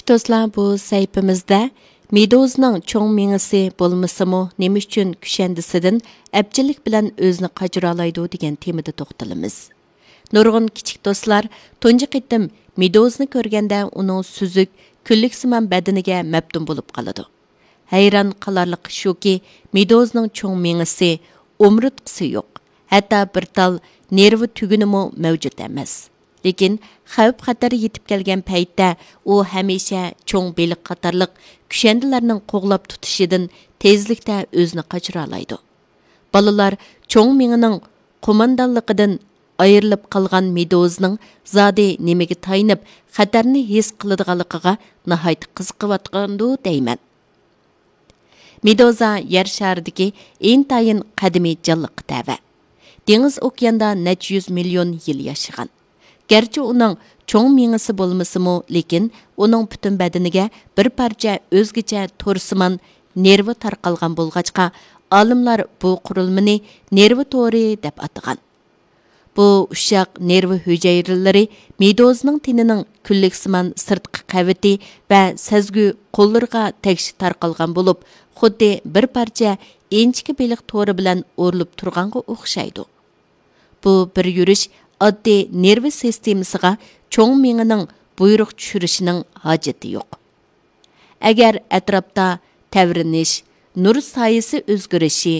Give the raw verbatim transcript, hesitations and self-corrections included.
دوستلار، بۇ سەھىپىمىزدە مېدۇزىنىڭ چوڭ مېڭىسى بولمىسىمۇ، نېمە ئۈچۈن كۈشەندىسىدىن ئەپچىللىك بىلەن ئۆزىنى قاچۇرالايدۇ دېگەن تېمىدا توختىلىمىز. نۇرغۇن كىچىك دوستلار تۇنجى قېتىم مېدۇزىنى كۆرگەندە ئۇنىڭ سۈزۈك، كۈنلۈكسىمان بەدىنىگە مەپتۇن بولۇپ قالىدۇ. ھەيران قالارلىقى شۇكى، مېدۇزىنىڭ چوڭ مېڭىسى، ئومۇرتقىسى يوق، ھەتتا بىر تال نېرۋا تۈگۈنىمۇ مەۋجۇت ئەمەس. لېكىن خەۋپ-خەتەر يېتىپ كەلگەن پەيتتە ئۇ ھەمىشە چوڭ بېلىق قاتارلىق كۈشەندىلەرنىڭ قوغلاپ تۇتۇشىدىن تېزلىكتە ئۆزىنى قاچۇرالايدۇ. بالىلار چوڭ مېڭىنىڭ قوماندانلىقىدىن ئايرىلىپ قالغان مېدۇزىنىڭ زادى نېمىگە تايىنىپ خەتەرنى ھېس قىلىدىغانلىقىغا ناھايىتى قىزىقىۋاتقاندۇ دەيمەن. مېدۇزا يەر شارىدىكى ئىنتايىن قەدىمىي جانلىققا تەۋە. دېڭىز ئوكياندا نەچچە يۈز مىليون يىل ياشىغان. گەرچە ئۇنىڭ چوڭ مېڭىسى بولمىسىمۇ، لېكىن ئۇنىڭ پۈتۈن بەدىنىگە بىر پارچە ئۆزگىچە تورسىمان نېرۋا تارقالغان بولغاچقا، ئالىملار بۇ قۇرۇلمىنى نېرۋا تورى دەپ ئاتىغان. بۇ ئۇششاق نېرۋا ھۈجەيرىلىرى مېدۇزىنىڭ تېنىنىڭ كۈنلۈكسىمان سىرتقى قەۋىتى ۋە سەزگۈ قوللىرىغا تەكشى تارقالغان بولۇپ، خۇددى بىر پارچە ئىنچىكە بېلىق تورى بىلەن ئورۇلۇپ تۇرغانغا ئوخشايدۇ. بۇ بىر يۈرۈش ئاددىي نېرۋا سىستېمىسىغا چوڭ مېڭىنىڭ بۇيرۇق چۈشۈرۈشىنىڭ ھاجىتى يوق. ئەگەر ئەتراپتا تەۋرىنىش، نۇر سايىسى ئۆزگىرىشى،